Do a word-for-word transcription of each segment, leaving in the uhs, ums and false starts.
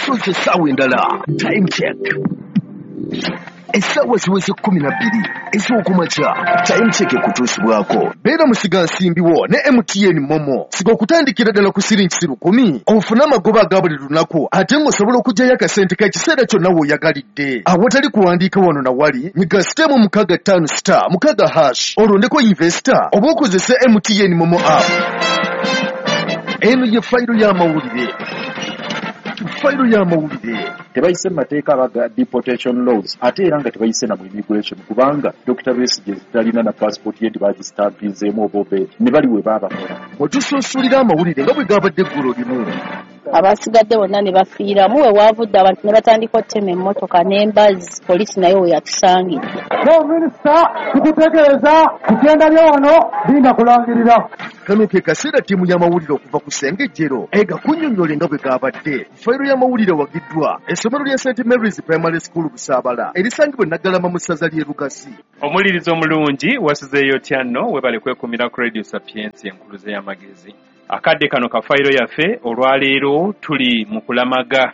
Tusoose essaawa endala. Time check, essaawa ziweze kkumi na bbiri ez'okumakya. Time check ekutuusibwako beera musigansimbi wo ne M T N MoMo. Siga okutandikira ddala ku siringi lukumi ofune amagoba aga buli lunaku, ate ng'osobola okuggyayo akasente k'ekiseera kyonna w'oyagalidde awatali kuwandiika wano na wali. Nyiga star mukaaga ttaano star mukaaga hash, olondeko invest oba okozese M T N MoMo app. Eno ye fayiro y'amawulire, fayiro y'amawulire. Tebayise mu mateeka abaga deportation laws, ate era nga tebayise na mu immigration, kubanga Doctor Besigye talina na passport ye, tebagisitampizeemu oba obeedi ne bali we baabakola. Wetusunsulira amawulire nga bwe gabadde eggulo limu. Abasigadde bonna ne bafiiramu. We waavudde abantu ne batandika okutema emmotoka n'embazzi, poliisi nayo we yatusangidde. Minisita, tukutegeeza kugenda lyo wano linda kulangirira. Kano ke kaseera ttiimu y'amawulire okuva ku Ssengejjero ega kunnyonnyola nga bwe gabadde. Fayiro y'amawulire wagiddwa essomero lya Saint Mary's Primary School Busaabala, erisangibwa e Naggalama mu ssaza ly'e Lugasi. Omulirizo omulungi, wasizeeyo otya nno? Webale kwekumira ku Radio Sapiensi, enkuluze y'amagezi. Akadde kano ka fayiro yaffe olwaleero tuli mu kulamaga,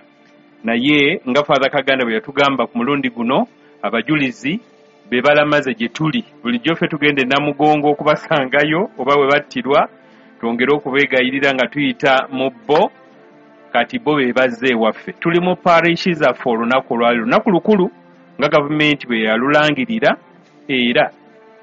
naye nga Father Kaganda bwe yatugamba, ku mulundi guno abajulizi be balamaze gye tuli. Bulijjo ffe tugenda e Namugongo okubasangayo oba bwe battirwa twongere okubeegayirira nga tuyita mu bo. Kati bo be bazze ewaffe. Tuli mu parishi zaffe. Olunaku olwaleero lunaku lukulu nga gavumenti bwe yalulangirira, era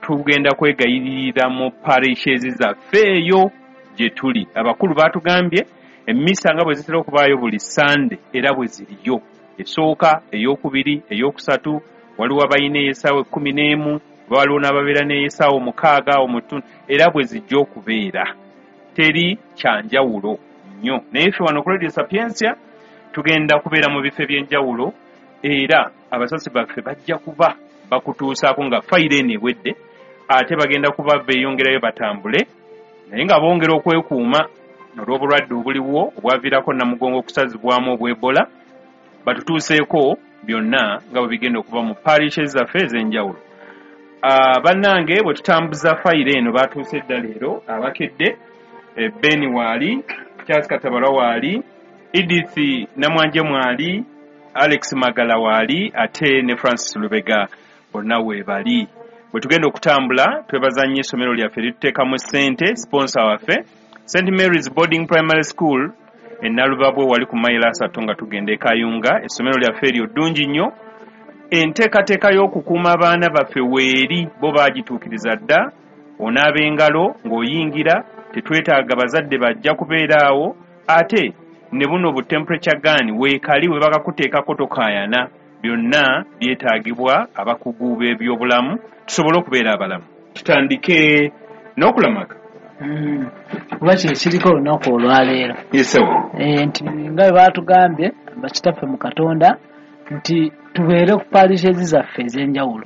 tugenda kwegayiririra mu parishes zaffe eyo gye tuli. Abakulu baatugambye emmisa nga bwe zitera okubaayo buli Sande era bwe ziriyo, esooka, eyokubiri, eyokusatu. Waliwo abalina ey'essaawa ekkumi n'emu, waliwo n'ababeera n'ey'essaawa omukaaga omutundu, era bwe zijja okubeera, teri kyanjawulo nnyo. Naye ffe wano ku Radio Sapiensia tugenda kubeera mu bifo eby'enjawulo, era abasasi baffe bajja kuba bakutuusaako nga fayiro eno ewedde, ate bagenda kuba beeyongerayo batambule, naye nga bongera okwekuuma olw'obulwadde obuliwo obwaviirako Namugongo okusazibwamu obw'Ebola. Batutuuseeko byonna nga bwe bigenda okuba mu parishes zaffe ez'enjawulo. uh, bannange bwe tutambuza fayiro eno, batuuse edda leero abakedde. eh, beni waali, Charles Katabalwa waali, Edith Namwanje mwali, Alex Magala waali, ate ne Francis Lubega, bonna weebali. Bwe tugenda okutambula, twebaza nnyo essomero lyaffe lituteekamu ssente, sponsor waffe, Saint Mary's Boarding Primary School e Nalubabwe, wali ku mayiro asatu nga tugenda e Kayunga. Essomero lyaffe eryo ddungi nnyo. Enteekateeka y'okukuuma abaana baffe weeri, bo baagituukiriza dda. Onaaba engalo ng'oyingira, tetwetaaga bazadde bajja kubeera awo, ate ne buno bu temperature gun weekali, we bakakuteekako tokaayana. Byonna byetaagibwa abakugu b'ebyobulamu tusobole okubeera abalamu. Tutandike n'okulamaga. Mm. Kuba kye kiriko olunaku olwaleero. Yesewo. Eh, nti nga bwe baatugambye bakitaffe mu Katonda nti tubeere ku parishes zaffe ez'enjawulo,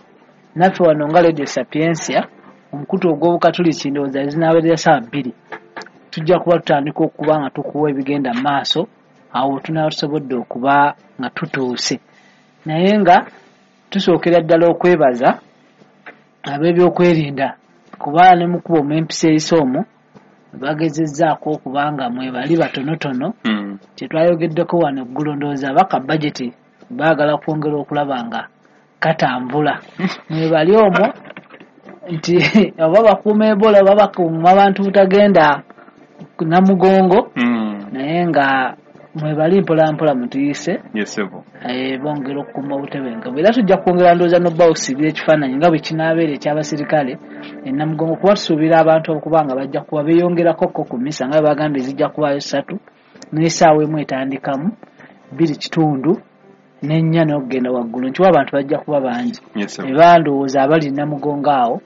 naffe wano nga Radio Sapiensia, omukutu ogw'Obukatuliki, ndowooza zinaabeerera saa bbiri tujja kuba tutandika okuba nga tukuwa ebigenda mu maaso. Awo tunaaba tusobodde okuba nga tutuuse, naye nga tusookera ddala okwebaza ab'ebyokwerinda, kuba ne mukuba omw'empisa eyise omwo bagezezzaako okuba nga mwebali batonotono. Mm. Kyetwayogeddeko wano eggulo, ndowooza baka bajeti baagala kwongera okulaba nga katambula, mwebali omwo nti oba bakuuma Ebola oba bakuuma abantu butagenda Namugongo, Mm. naye nga mwebali mpola mpola mutuyise. Yesebo. eh, bongera okukuuma obutebenkevu, era tujja kwongera ndowooza nobba okusibira ekifaananyi nga bwe kinaabeera ekyabasirikale enamugongo, kuba tusuubira abantu okuba nga bajja kuba beeyongerako ko ku misa nga bwe bagambye zijja kubaayo ssatu, n'essaawa emu etandikamu bbiri kitundu n'ennya n'okugenda waggulu, nkiwa abantu bajja kuba bangi. Yesebo. Era ndowooza abali Namugongo awo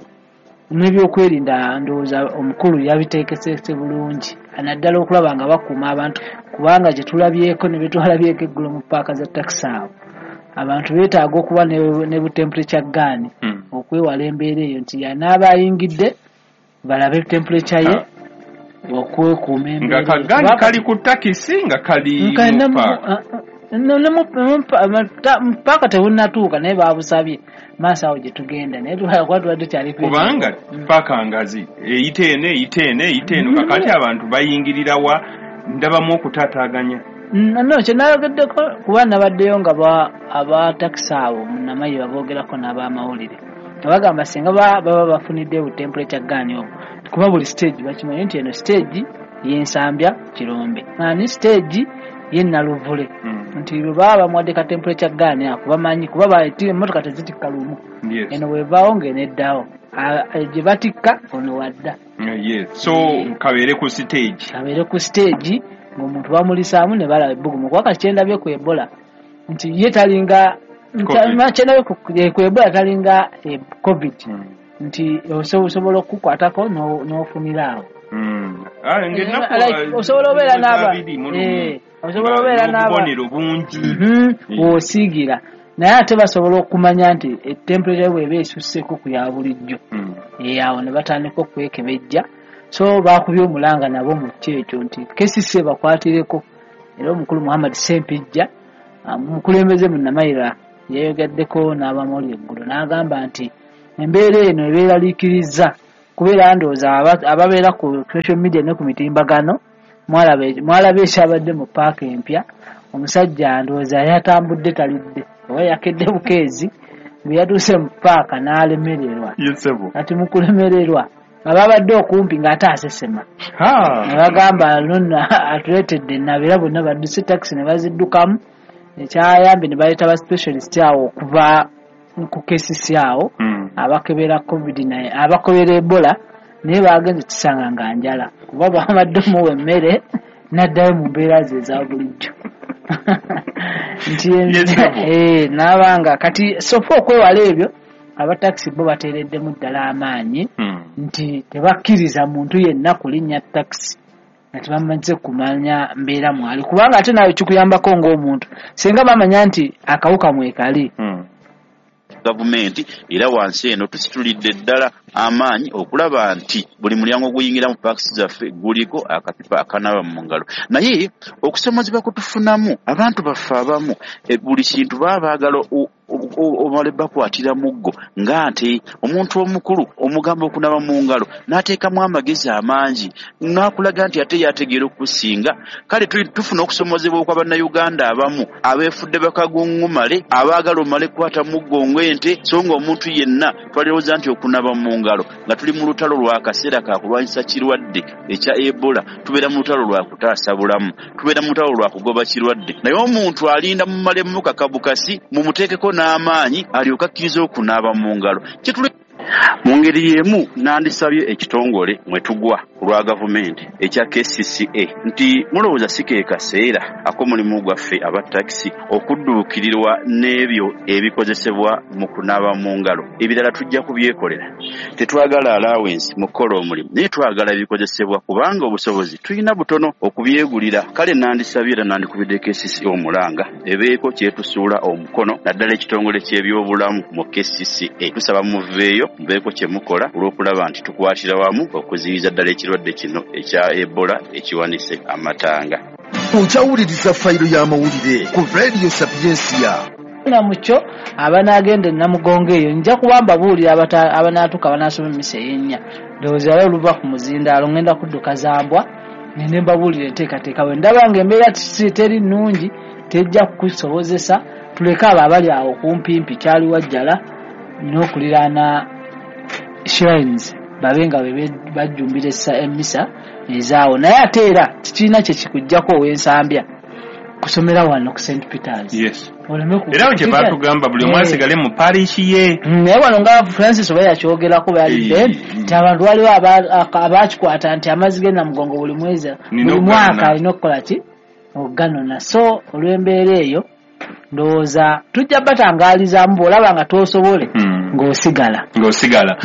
n'ebyokwerinda, ndowooza omukulu yabiteekeseese bulungi, naddala okulaba nga bakuuma abantu, kubanga gye tulabyeko ne betwalabyeko eggulo mu paaka za takisi awo, abantu beetaaga okuba ne, ne bu temperature gun Mm. okwewala embeera eyo nti yanaaba ayingidde balabe temperature ye okwekuuma Nga embeera eyo. ka gun Kuba kali ku takisi nga kali Nka mu ne mu- paaka. ah, ah, ne- ne mu- mu pa- ma- ta- mu paaka tebunnatuuka, naye babusabye maaso awo gye tugenda, naye kuba tubadde tukyali ku- Kubanga Mm. paaka ngazi, eyita eno, eyita eno, eyita eno. Mm. Kakati abantu bayingirira wa? Ndabamu okutaataaganya. No, kye nayogeddeko kuba nabaddeyo nga aba takisi abo munnamaye baboogerako n'abamawulire nga bagamba singa baba bafunidde bu temperature gun obwo, kuba buli stage bakimanyi nti eno stage y'Ensambya Kirombe ani stage ye Naluvule, nti bwe baba bamuwadde ka temperature gun ako bamanyi kuba emmotoka tezitikka lumu, eno bwevaawo ng'eneddawo gye batikka ono wadda. So kabeere ku stage, kabeere ku stage ng'omuntu bamulisaamu ne balaba ebbugumu. Kuba kati kyendabye ku Ebola nti ye talinga, kyendabye ku Ebola talinga COVID, nti osobola okukwatako n'ofunira awo. Osobola obeera n'aba osobola obeera n'obubonero bungi w'osiigira, naye ate basobola okumanya nti temperature bw'eba esusseko ku ya bulijjo, awo ne batandika okwekebejja. So bakubye omulanga nabo mu kyekyo nti K C C bakwatireko. Era omukulu Muhammad Ssempijja omukulembeze munnamayira yeeyogeddeko n'abamawulire eggulo n'agamba nti embeera eno ebeeraliikiriza kubeera ndowooza ababeera ku social media ne ku mitimbagano mwalaba ekyabadde mu paaka empya, omusajja ndowooza yatambudde talidde oba yakedde bukeezi bwe yatuuse mu paaka n'alemererwa. Kati mu kulemererwa ababadde okumpi ng'ate asesema, ne bagamba nno atuleetedde nnabeera bonna badduse takisi ne baziddukamu. Ekyayambye ne baleeta ba specialist awo okuva ku K C C awo abakebera COVID naye abakebera Ebola, naye bagenze kisanga nga njala kuba bamadde omuwa emmere n'addayo mu mbeera ze eza bulijjo. Nti n'abanga kati sofa okwewala ebyo abatakisi bo bateereddemu ddala amaanyi nti tebakkiriza muntu yenna kulinnya takisi nga tebamaze kumanya mbeera mwali, kubanga ate naawe kikuyambako ng'omuntu singa bamanya nti akawuka mwekali. Gavumenti era wansi eno tusitulidde ddala amaanyi okulaba nti buli mulyango oguyingira mu paakisi zaffe guliko akapipa akanaaba mu ngalo. Naye okusomozebwa kutufunamu abantu baffe abamu buli kintu baba baagala omale bakwatira muggo, nga nti omuntu omukulu omugamba okunaaba mu ngalo n'ateekamu amagezi amangi n'akulaga nti ate yategeera okusinga. Kale tufuna okusomozebwa okwa bannayuganda abamu abeefudde bakaguŋŋumale abaagala omale kukwata muggo ng'ente, so ng'omuntu yenna twalirowooza nti okunaaba mu ngalo nga tuli mu lutalo lwa kaseera ka kulwanyisa kirwadde ekya Ebola, tubeera mu lutalo lwa kutaasa bulamu, tubeera mu lutalo lwa kugoba kirwadde. Naye omuntu alinda mumalemu kakabukasi mumuteekeko n'amaanyi alyoke akkiriza okunaaba mu ngalo. Mu ngeri y'emu nandisabye ekitongole mwe tugwa ku lwa gavumenti ekya K C C A nti mulowooza si ke kaseera ak'omulimu gwaffe aba takisi okudduukirirwa n'ebyo ebikozesebwa mu kunaaba mu ngalo. Ebirala tujja kubyekolera, tetwagala allowance mu kukola omulimu, naye twagala ebikozesebwa kubanga obusobozi tulina butono okubyegulira. Kale nandisabye era nandikubidde K C C A omulanga ebeeko kyetusuula omukono, naddala ekitongole ky'ebyobulamu mu K C C A. Tusaba muveeyo mubeeko kye mukola olw'okulaba nti tukwatira wamu okuziyiza ddala ekirwadde kino ekya Ebola ekiwanise amatanga. Okyawuliriza fayiro y'amawulire ku Radio Sapiensia. Na mukyo abanaagenda Namugongo eyo nja kuba mbabuulira abanaatuuka abanaasoma emmisa ey'ennya. Ndowooza era oluva ku muzindaalo ngenda kudduka Zambwa ngende mbabuulira enteekateeka bwe ndaba ng'embeera teri nnungi tejja kukusobozesa, tuleke abo abali awo kumpimpi kyali Wajjala n'okuliraana shrines babe nga bajjumbira emmisa ezaawo. Naye ate era tekirina kye kikuggyako ow'Ensambya kusomera wano ku Saint Peters. Yes. Era kye batugamba buli omu asigale mu parish ye. Naye wano nga Francis oba yakyogerako bali Ben nti abantu waliwo abakikwata nti amazzi ge Namugongo buli mwezi buli mwaka alina okukola ki okuganona. So olw'embeera eyo ndowooza tujja batangaalizaamu bw'olaba nga tosobole ng'osigala ng'osigala.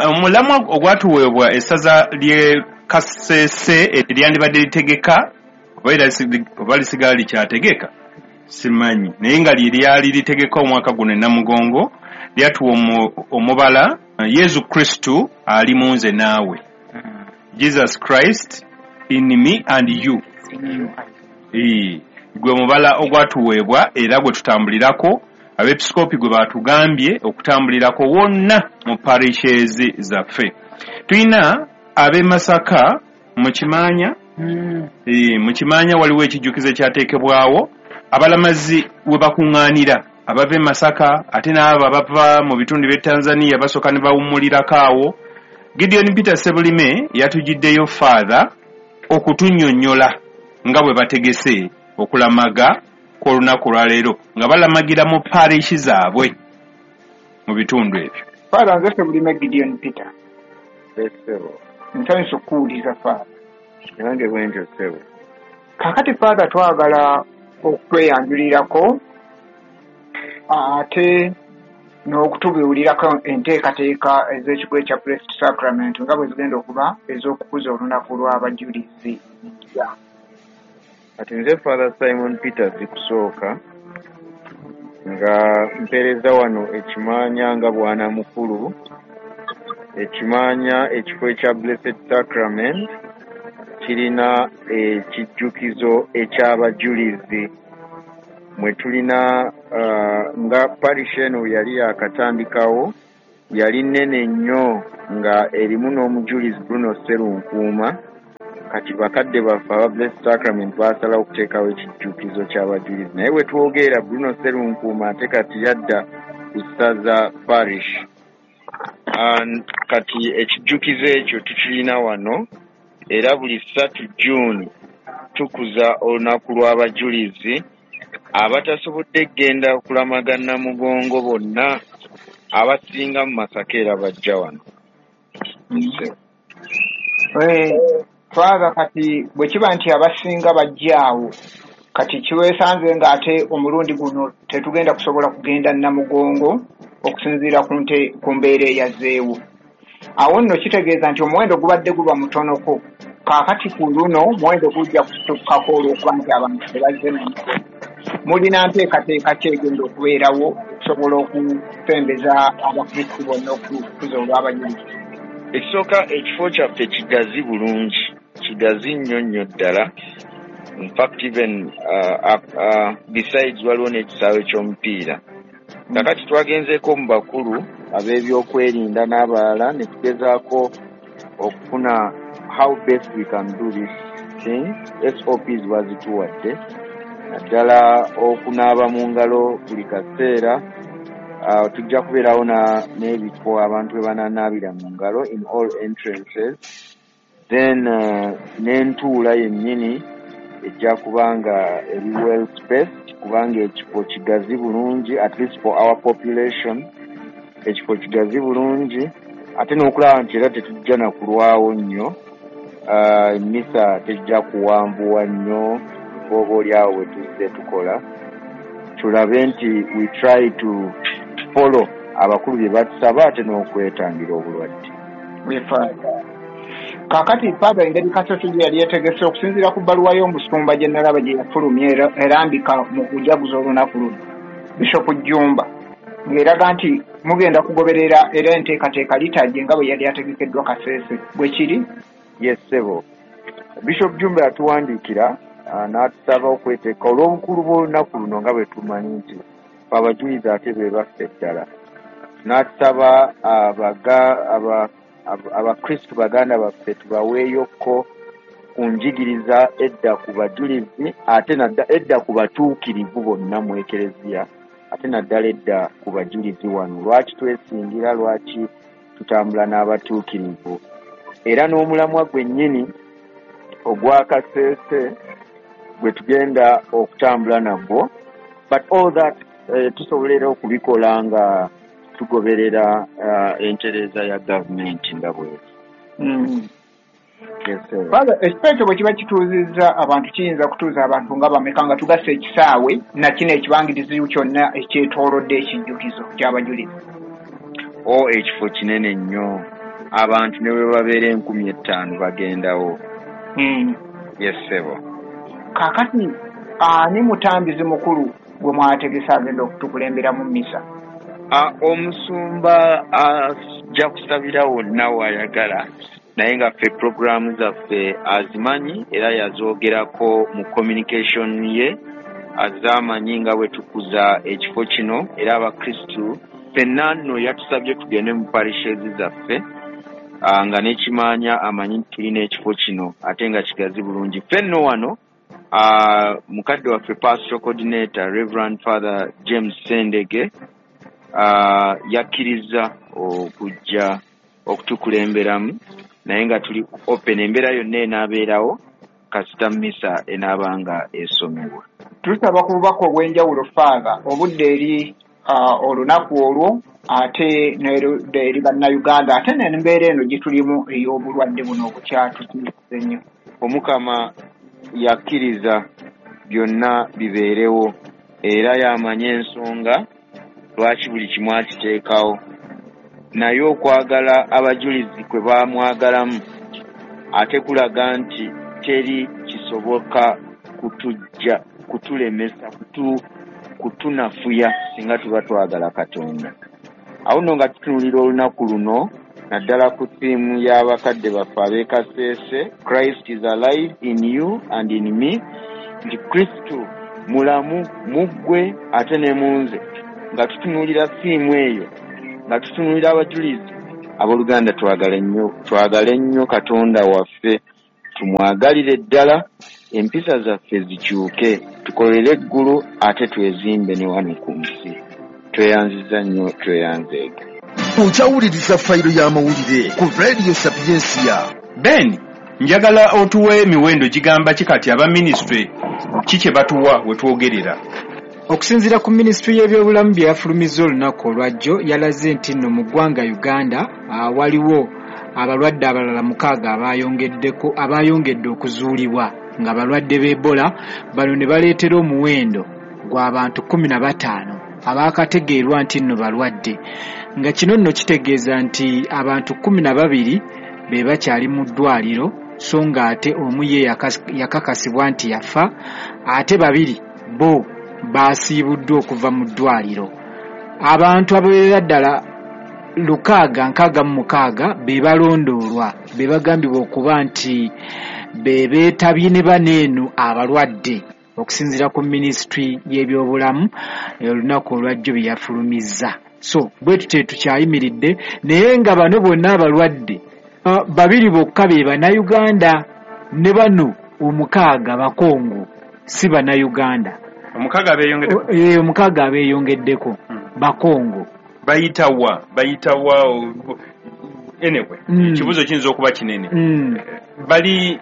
Omulamwa ogwatuweebwa essaza ly'e Kasese eryandibadde litegeka oba lisigala likyategeka simanyi, naye nga lye lyali litegeka omwaka guno e Namugongo lyatuwa omubala Yesu Kristo ali mu nze naawe, Jesus Christ in me and you. Gwe mubala ogwatuweebwa era gwe tutambulirako, abeepisikoopi gwe batugambye okutambulirako wonna mu parishes zaffe. Tulina ab'e Masaka mu Kimaanya Mm. E, mu Kimaanya waliwo ekijjukizo ekyateekebwawo abalamazi we bakuŋŋaanira abava e Masaka ate n'abo abava mu bitundu by'e Tanzania basooka ne bawummulirako awo. Gideon Peter Sebulime yatujjiddeyo Father okutunnyonnyola nga bwe bategese okulamaga kw'olunaku lwaleero nga balamagira mu parish zaabwe mu bitundu ebyo. Father, nze Sebulime Gideon Peter. Ssebo. Nsanyuse okukuwuliza Father. Nange bwentyo ssebo. Kaakati Father, twagala okweyanjulirako ate n'okutubuulirako enteekateeka ez'ekigo ekya Blessed Sacrament nga bwe zigenda okuba ez'okukuza olunaku lw'abajulizi. Kati nze Father Simon Peter Zikusooka nga mpeereza wano ekimaanya nga bwana mukulu. Ekimaanya ekifo ekya Blessed Sacrament kirina ekijjukizo eky'abajulizi mwe tulina uh, nga parish eno yali yakatandikawo yali nnene nnyo nga erimu n'omujulizi Bruno Sserunkuuma. Kati bakadde baffe aba Blessed Sacrament baasalawo okuteekawo ekijjukizo ky'abajulizi, naye bwe twogerera Bruno Sserunkuuma ate kati yadda ku ssaza parish. And kati ekijjukizo ekyo tukirina wano era buli ssatu June tukuza olunaku lw'abajulizi. Abatasobodde kugenda kulamaga Namugongo bonna abasinga mu Masaka era bajja wano. Father, kati bwe kiba nti abasinga bajja awo, kati kiweesanze ng'ate omulundi guno tetugenda kusobola kugenda Namugongo okusinziira ku nte ku mbeera eyazzeewo. Awo nno kitegeeza nti omuwendo gubadde guba mutonoko. Kaakati ku luno omuwendo gujja kusukkako olw'okuba nti abantu tebazze Namugongo. Mulina nteekateeka ki egenda okubeerawo okusobola okusembeza Abakristu bonna okukuza olw'abajulizi? Ekisooka, ekifo kyaffe kigazi bulungi, kigazi nnyo nnyo ddala. In fact even uh, uh, besides waliwo n'ekisaawe ky'omupiira. Kakati twagenzeeko mu bakulu ab'ebyokwerinda n'abalala ne tugezaako okufuna how best we can do this thing. S O Ps bazituwadde naddala okunaaba mu ngalo buli kaseera. Uh, tujja kubeerawo n'ebifo abantu we bananaabira mu ngalo in all entrances. Then uh, n'entuula yennyini ejja kuba nga eri well spaced kubanga ekifo kigazi bulungi, at least for our population ekifo kigazi bulungi, ate n'okulaba nti era tetujja na kulwawo nnyo. Uh, misa tejja kuwanvuwa nnyo oba oli awo we tuzze tukola, tulabe nti we try to follow abakulu bye batusaba ate n'okwetangira obulwadde. Kaakati Father, engeri Kasese gye yali yeetegese okusinziira ku bbaluwa y'omusumba gye nalaba gye yafulumya erambika mu kujaguza olunaku luno, Bishop Jjumba, ng'eraga nti mugenda kugoberera era enteekateeka liturgy nga bwe yali ategekeddwa Kasese. Bwe kiri? Yes ssebo. Bishop Jjumba yatuwandiikira n'atusaba okweteeka olw'obukulu bw'olunaku luno nga bwe tumanyi nti ffe abajulizi ate be baffe ddala. N'atusaba aba abakristu baganda baffe tubaweeyokko ku njigiriza edda ku bajulizi ate edda ku batuukirivu bonna mu Ekereziya ate naddala edda ku bajulizi wano. Lwaki twesingira, lwaki tutambula n'abatuukirivu? Era n'omulamwa gwennyini ogwa Kasese gwe tugenda okutambula nagwo, but all that eh, tusobola era okubikola nga tugoberera uh, entereeza ya gavumenti nga bweti. Mm. Father, ekifo ekyo bwe kiba kituuzizza abantu, kiyinza kutuuza abantu nga bameka nga tugasse ekisaawe na kino ekibangirizi kyonna ekyetoolodde ekijjukizo ky'abajulizi? O ekifo kinene nnyo, abantu ne bwe babeera enkumi ettaano bagendawo. Mm. Yes ssebo. Kaakati ani mutambizi mukulu gwe mwategese agenda okutukulembera mu mmisa? Omusumba ajja kusabira wonna w'ayagala, naye nga ffe puroguraamu zaffe azimanyi era yazoogerako mu communication ye, azaamanyi nga bwe tukuza ekifo kino. Era abakristu ffenna nno yatusabye tugende mu parishes zaffe uh, nga n'ekimanya amanyi nti tulina ekifo kino ate nga kigazi bulungi. Ffe nno wano uh, mukadde waffe pastoral coordinator Reverend Father James Sendege uh, yakkiriza okujja okutukulemberamu, naye nga tuli open, embeera yonna enaabeerawo kasita mmisa enaabanga esomebwa. Tusaba ku bubaka obw'enjawulo Father, obudde eri uh, olunaku olwo ate n'erudda eri bannayuganda, ate n'embeera eno gye tulimu ey'obulwadde buno obukyatutiisa ennyo. Omukama yakkiriza byonna bibeerewo era y'amanya ensonga lwaki buli kimu akiteekawo, naye okwagala abajulizi kwe baamwagalamu ate kulaga nti teri kisoboka kutujja kutulemesa kutu, kutunafuya singa tuba twagala Katonda. Awo nno nga tutunuulira olunaku luno naddala ku ttiimu y'abakadde baffe ab'e Kasese, Christ is alive in you and in me, nti Kristo mulamu mu ggwe ate ne mu nze. Nga tutunuulira ttiimu eyo, nga tutunuulira abajulizi, abooluganda twagale nnyo, twagale nnyo Katonda waffe, tumwagalire ddala, empisa zaffe zikyuke, tukolere eggulu ate twezimbe ne wano ku nsi. Tweyanziza nnyo, tweyanzeege. Okyawuliriza fayiro y'amawulire ku Radio Sapientia. Ben, njagala otuwe emiwendo gigamba ki kati aba minisitule ki kye batuwa we twogerera? Okusinziira ku minisitule y'ebyobulamu bye yafulumizza olunaku olwajjo, yalaze nti nno mu ggwanga Uganda uh, waliwo abalwadde abalala mukaaga abayongeddeko abayongedde okuzuulibwa nga balwadde b'Ebola. Bano ne baleetera omuwendo gw'abantu kkumi na bataano abaakategeerwa nti nno balwadde, nga kino nno kitegeeza nti abantu kkumi na babiri be bakyali mu ddwaliro, so nga ate omu ye yakakasibwa nti yafa, ate babiri bo baasiibuddwa okuva mu ddwaliro. Abantu abawerera ddala lukaaga nkaaga mu mukaaga be balondoolwa, be bagambibwa okuba nti be beetabye ne bano eno abalwadde, okusinziira ku minisitule y'ebyobulamu olunaku olwajjo bye yafulumizza. So bwe tutyo tukyayimiridde, naye nga bano bonna abalwadde uh, babiri bokka be bannayuganda, ne bano omukaaga Bakongo si bannayuganda. Omukaaga abeeyongeddeko? Eh, omukaaga abeeyongeddeko Bakongo. Bayitawa bayitawa anyway, Mm. ekibuuzo kiyinza okuba kinene. Mm. Bali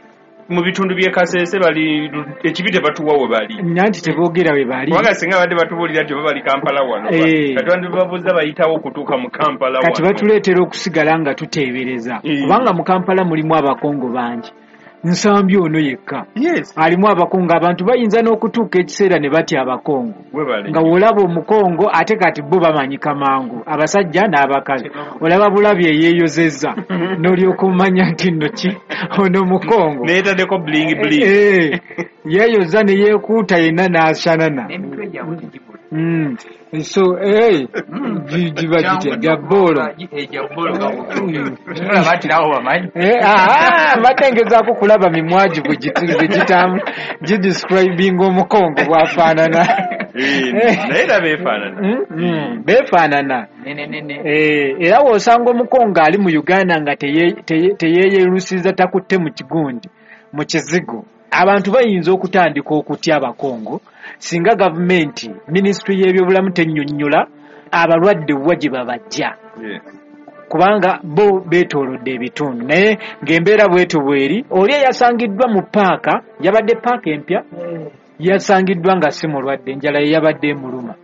mu bitundu by'e Kasese, bali ekibi tebatuwa we bali, Nanti teboogera we bali. Kubanga singa badde batubuulira nti oba bali Kampala wano, Eh. kati bandibabuuza bayitawo okutuuka mu Kampala Kati wano. batuleetera okusigala nga tuteebereza, Eh. kubanga mu Kampala mulimu Abakongo bangi. Nsambi ono yekka Yes. alimu Abakongo. Abantu bayinza n'okutuuka ekiseera ne batya Abakongo, Webale. nga w'olaba Omukongo ate kati bo bamanyika mangu, abasajja n'abakazi, olaba bulabi eyeeyozezza n'olyoka omanya nti nno ki ono Mukongo. Neetaddeko bling bling. Eh, yeeyoza ne yeekuuta yenna n'ashanana. N'emitwe gyabwe tegibula. Mm. So eh, gi- giba gitya gya bboolo. Gya bboolo olaba nti nabo bamanyi. Eh, ah, mbadde ngezaako kulaba mimwa gi bwe giti- bwe gitamu gidescribinga Omukongo bw'afaanana. Eh, naye era beefaanana. Mm, mm, beefaanana. Nene nene. Eh, era w'osanga Omukongo ali mu Uganda nga teye- teye- teyeeyerusiza, takutte mu kigundi mu kizigo, abantu bayinza okutandika okutya Abakongo singa gavumenti minisitule y'ebyobulamu tennyonnyola abalwadde wa gye babajja, Yes. kubanga bo beetoolodde ebitundu. Naye ng'embeera bwetyo bweri, oli eyasangiddwa mu paaka, yabadde paaka empya, yasangiddwa nga si mulwadde, enjala ye yabadde emuluma.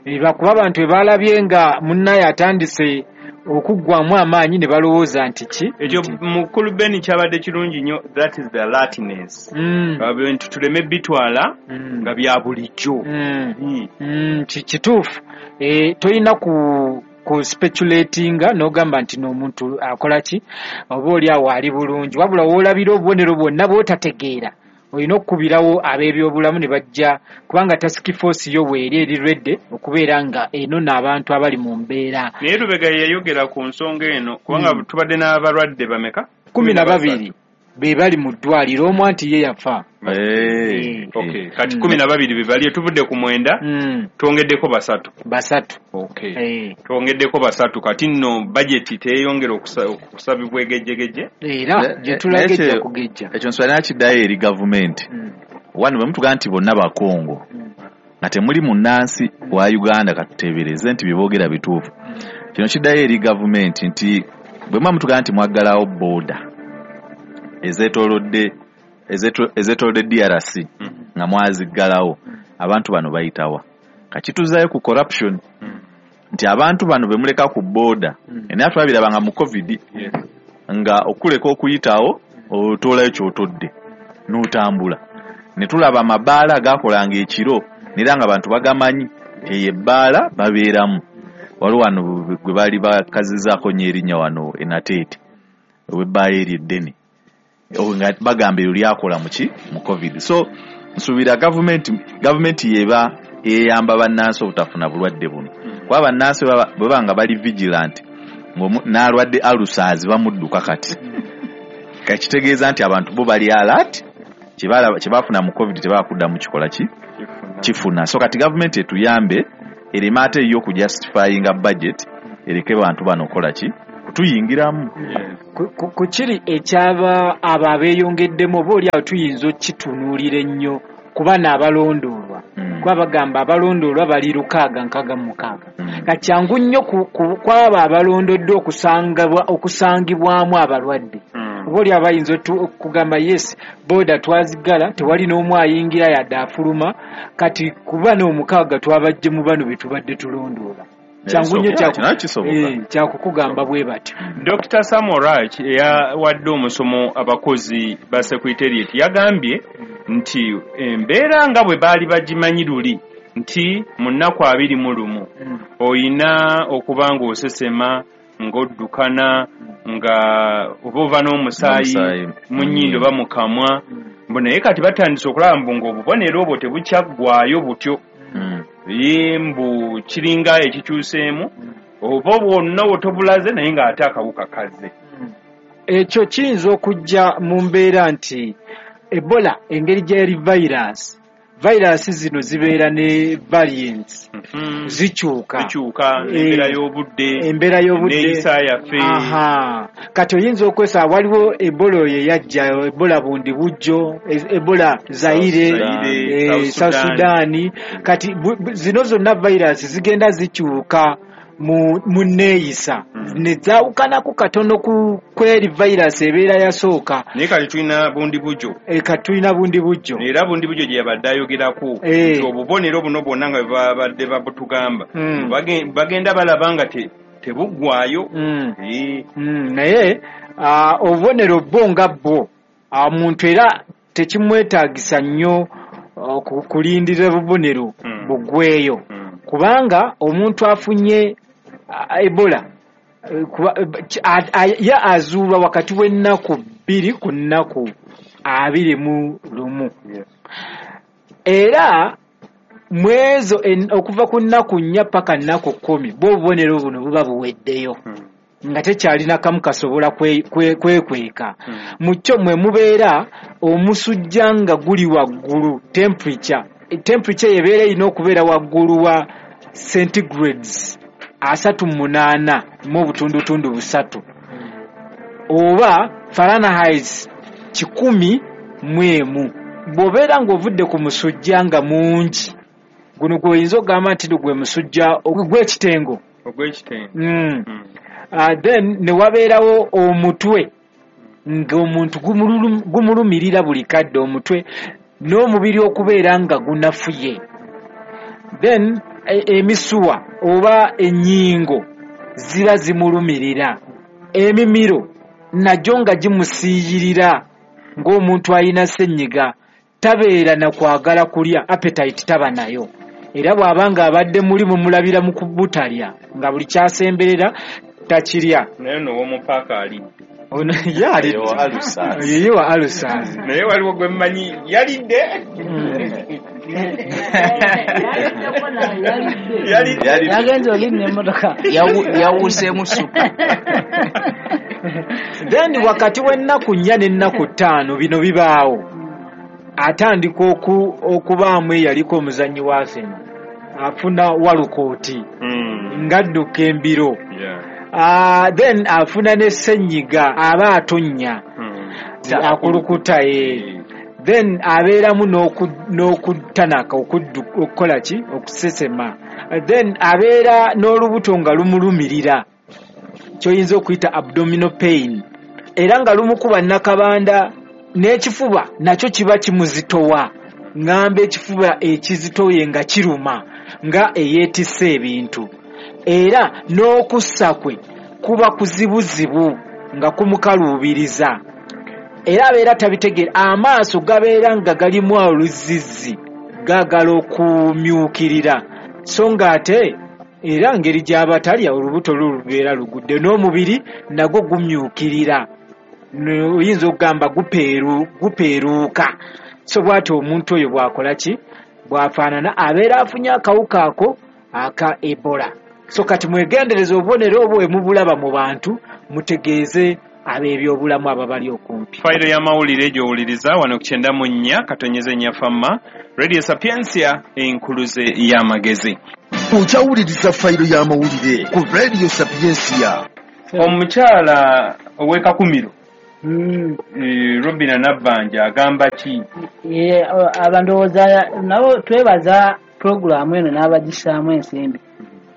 Eh, bakuba abantu bwe baalabye nga munnaye atandise okuggwamu amaanyi ne balowooza nti ki Ekyo mukulu Ben kyabadde kirungi nnyo, that is the alertness. Mm. Abantu tuleme bitwala Mm. nga bya bulijjo. Mm. Mm. Mm, ki- kituufu. Eh, tolina ku ku speculatinga n'ogamba nti n'omuntu akola ki oba oli awo ali bulungi, wabula w'olabira obubonero bwonna bw'otategeera olina okukubirawo ab'ebyobulamu ne bajja, kubanga task force yo bw'eri eri ready okubeera nga enona abantu abali mu mbeera. Naye Lubega yayogera ku nsonga eno, kubanga Mm. tubadde n'abalwadde bameka? Kumi na babiri. be bali mu ddwaliro, omu anti ye yafa. Eh, okay. Kati kumi na babiri be bali, tuvudde ku mwenda, Mm. twongeddeko basatu. Basatu. Okay. Eh. Twongeddeko basatu, kati nno bajeti teeyongera okusa- okusabibwa egejjegeje. Era gye tulaga ejja kugejja. Ekyo nswala nakiddayo eri gavumenti. Wano bwe mutugaa nti bonna Bakongo nga temuli munnansi wa Uganda, katuteebereze nti bye boogera bituufu. Kino kiddayo eri gavumenti nti bwe muba mutugaa nti mwaggalawo booda ezeetoolodde ezeeto- ezeetoolodde D R C nga mwaziggalawo, abantu bano bayitawa. Kakituzaayo ku corruption nti abantu bano be muleka ku booda, naye twabirabanga mu COVID nga okuleka okuyitawo otoolayo ky'otodde n'otambula. Ne tulaba amabaala agaakolanga ekiro era nga abantu bagamanyi eyo ebbaala babeeramu. Waliwo wano gwe baali bakazizaako nnyo erinnya wano e Nateete, ow'ebbaala eryo eddene, nga bagamba eryo lyakola mu ki? Mu COVID. So nsuubira gavumenti, gavumenti yeba eyamba bannansi obutafuna bulwadde buno, kuba bannansi bwe baba nga bali vigilant, n'alwadde ulcers bamudduka kati. Kakitegeeza nti abantu bo bali alert, kye baafuna mu COVID tebakuddamu kikola ki? Kifuna. So kati gavumenti etuyambe ereme ate yo okujustifyinga budget ereke bantu bano okukola ki? Kutuyingiramu. Ku kiri ekyaba abo abeeyongeddemu oba oli awo tuyinza okukitunuulira ennyo kuba n'abalondoolwa. Kuba bagamba abalondoolwa bali lukaaga nkaaga mu mukaaga. Kati kyangu nnyo kw'abo abalondoddwa okusangibwamu abalwadde. Oba oli awo bayinza okugamba yes, booda twaziggala, tewali n'omu ayingira yadde afuluma, kati kuba n'omukaaga twabajje mu bano be tubadde tulondoola. Kyangu nnyo kyakukugamba bwe batyo. Dokita Samorach eyawadde omusomo abakozi ba Secretariat yagambye nti embeera nga bwe baali bagimanyi luli nti mu nnaku abiri mu lumu oyina okuba ng'osesema, ng'oddukana, nga oba ova n'omusaayi mu nnyindo oba mu kamwa, mbu naye kati batandise okulaba mbu ng'obubonero obwo tebukyaggwaayo butyo. Ye mbu kiringa ekikyuseemu oba bwonna otobulaze naye ng'ate akawuka kazze. Ekyo kiyinza okujja mu mbeera nti Ebola engeri gy'eri virus, virus zino zibeera ne variants, zikyuka zikyuka embeera y'obudde, embeera y'obudde n'eyisa yaffe. Aha, kati oyinza okwesa waliwo Ebola oyo eyajja, Ebola bundi bujjo, Ebola Zaire, South Sudan. Kati zino zonna virus zigenda zikyuka mu mu nneeyisa ne zaawukanako katono ku kweri virus ebeera yasooka. Naye kati tulina bundi bujjo. E, kati tulina bundi bujjo. Era bundi bujjo gye yabadde ayogerako nti obubonero buno bwonna nga babadde babutugamba bagenda balaba nga tebuggwayo. Naye obubonero bwo nga bwo omuntu era tekimwetaagisa nnyo kulindirira bubonero buggweyo, kubanga omuntu afunye Ebola ye azuulwa wakati w'ennaku bbiri ku nnaku abiri mu lumu. Era mwezo okuva ku nnaku nnya paka nnaku kkumi bwo obubonero buno buba buweddeyo nga tekyalina kamu kasobola kwekweka. Mu kyo mwe mubeera omusujja nga guli waggulu, temperature temperature yebeera erina okubeera waggulu wa centigrades asatu munaana mu obutundutundu busatu oba Fahrenheit kikumi mu emu. Bw'obeera ng'ovudde ku musujja nga mungi, guno gw'oyinza okugamba nti gwe musujja ogw'ekitengo, ogw'ekitengo. Mm. Uh, then ne wabeerawo omutwe ng'omuntu gumulumirira buli kadde omutwe n'omubiri okubeera nga gunafuye. Then emisuwa oba ennyingo ziba zimulumirira, emimiro nagyo nga gimusiiyirira ng'omuntu alina ssenyiga, tabeera na kwagala kulya, appetite taba nayo. Era bw'aba nga abadde muli mumulabira mu kubutalya nga buli kyasemberera takirya. Naye no w'omupaaka alidde. Ono ye alidde. Ye wa alusazi. Naye waliwo gwe mmanyi yalidde. Yagenze olinnya emmotoka. Yawuseemu ssupu. Then wakati w'ennaku nnya n'ennaku ttaano bino bibaawo, atandika okubaamu eyaliko omuzannyi wa Arsenal afuna walukooti ng'adduka embiro, then afuna ne ssenyiga aba atonnya akulukuta, then abeeramu n'okutanaka okukola ki okusesema, then abeera n'olubuto nga lumulumirira kyoyinza okuyita abdominal pain, era nga lumukuba nnakabanda n'ekifuba nakyo kiba kimuzitowa, ngamba ekifuba ekizitoye nga kiruma nga eyeetisse ebintu, era n'okussa kwe kuba kuzibuzibu nga kumukaluubiriza, era abeera tabitegeera, amaaso gabeera nga galimu oluzizzi gaagala okumyukirira, so ng'ate era ngeri gy'aba talya olubuto lubeera lugudde n'omubiri nagwo gumyukirira, oyinza okugamba gupeeruuka. So bw'atyo omuntu oyo bw'akola ki bw'afaanana abeera afunye akawuka ako aka Ebola. So kati mwegendereze obubonero obwo bwe mubulaba mu bantu, mutegeeze ab'ebyobulamu ababali okumpi. Fayiro y'amawulire gy'owuliriza wano ku kyenda mu nnya katonyeze nnya famma Radio Sapientia enkuluze y'amagezi. Okyawuliriza fayiro y'amawulire ku Radio Sapientia. Omukyala ow'e Kakumiro Robina Nabbanja agamba ki? Abandowooza nabo twebaza pulogulaamu eno n'abagisaamu ensimbi,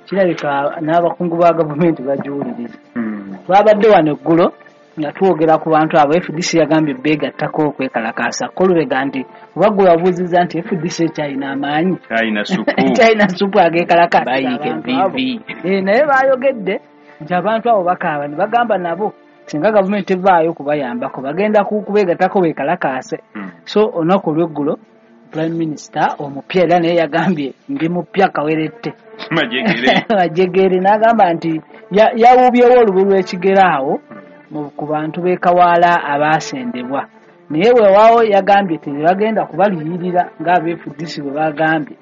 kirabika n'abakungu ba gavumenti bagiwuliriza. Twabadde wano eggulo nga twogera ku bantu abo, F D C yagambye beegattako okwekalakaasa, Kolubega nti oba gwe wabuuzizza nti F D C ekyalina amaanyi ekyalina supu ageekalakaasa bayiike V V, naye baayogedde nti abantu abo bakaaba ne bagamba nabo singa gavumenti evaayo okubayambako bagenda kubeegattako beekalakaase. So olunaku olw'eggulo Prime Minister omupya era naye yagambye ndi mupya kawerette majegere, n'agamba nti yawuubyewo olubu lw'ekigere awo ku bantu b'e Kawaala abaasendebwa, naye weewaawo yagambye tebagenda kubaliyirira ng'aba F D C bwe bagambye.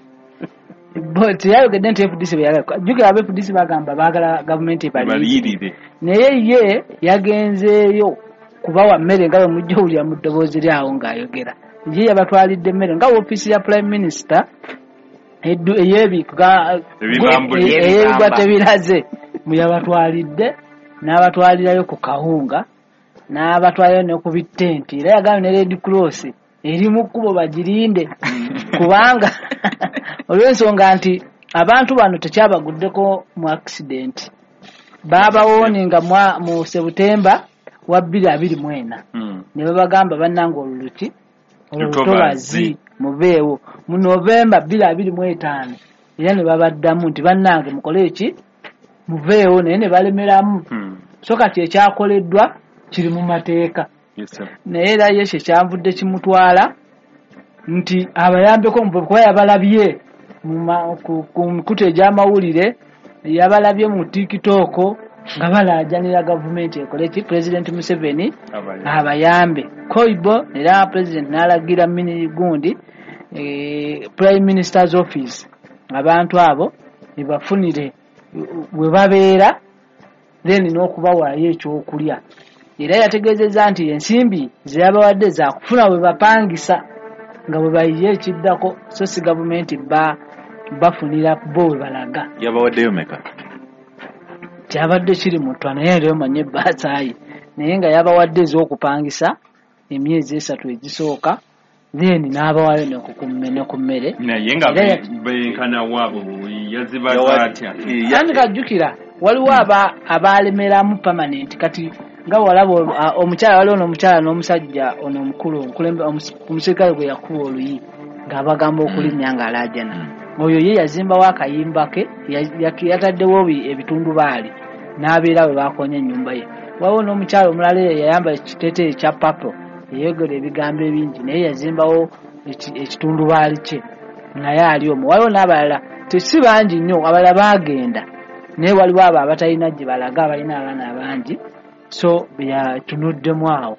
Teyayogedde nti F D C bwe yagamba, jjukira aba F D C bagamba baagala gavumenti ebaliyirire, naye ye yagenzeeyo kubawa mmere nga bwe mujja owulira mu ddoboozi lyawo ng'ayogera. Ye yabatwalidde emmere nga woofiisi ya Prime Minister ey'ebigwa tebiraze muyabatwalidde, n'abatwalirayo ku kawunga, n'abatwalirayo ne ku bitenti, era yagambye ne Red Cross eri mu kkubo bagirinde kubanga olw'ensonga nti abantu bano tekyabaguddeko mu accident, baabawooninga mu September wa bbiri abiri mu ena ne babagamba bannange oluluki olutobazi mubeewo, mu November bbiri abiri mu etaano era ne babaddamu nti bannange mukole eki muveewo, naye ne balemeramu. So kati ekyakoleddwa kiri mu mateeka, naye era ye kye kyanvudde kimutwala nti abayambeko kuba yabalabye ku mikutu egy'amawulire, yabalabye mu TikTok nga balaajanira gavumenti ekole ki President Museveni abayambe. Koibo era President n'alagira mini gundi Prime Minister's office abantu abo ebafunire we babeera then n'okubawaayo ekyokulya. Era yategeezezza nti ensimbi ze yabawadde zaakufuna bwe bapangisa nga bwe bayiye ekiddako, so si gavumenti bafunira bo we balaga. Yabawaddeyo meka? Kyabadde kiri mu ttwa naye era omanye ebbaasaayi, naye nga yabawadde ez'okupangisa emyezi esatu egisooka, then n'abawaayo ne ku mmere. Naye nga benkana waabo yazibaza atya? Anti kajjukira waliwo abaalemeramu permanent, kati nga walaba omukyala waliwo n'omukyala n'omusajja ono omukulu omusirikale gwe yakuba oluyi ng'abagamba okulinnya ng'alaajana, oyo ye yazimbawo akayimba ke, yataddewo ebitundubaali n'abeera we baakonya ennyumba ye. Waliwo n'omukyala omulala eyayambala ekiteeteeyi ekya purple eyogera ebigambo ebingi, naye yazimbawo ekitundubaali kye naye ali omwo. Waliwo n'abalala tesi bangi nnyo, abalala baagenda, naye waliwo abo abatalina gye balaga, abalina abaana abangi, so yatunuddemu awo.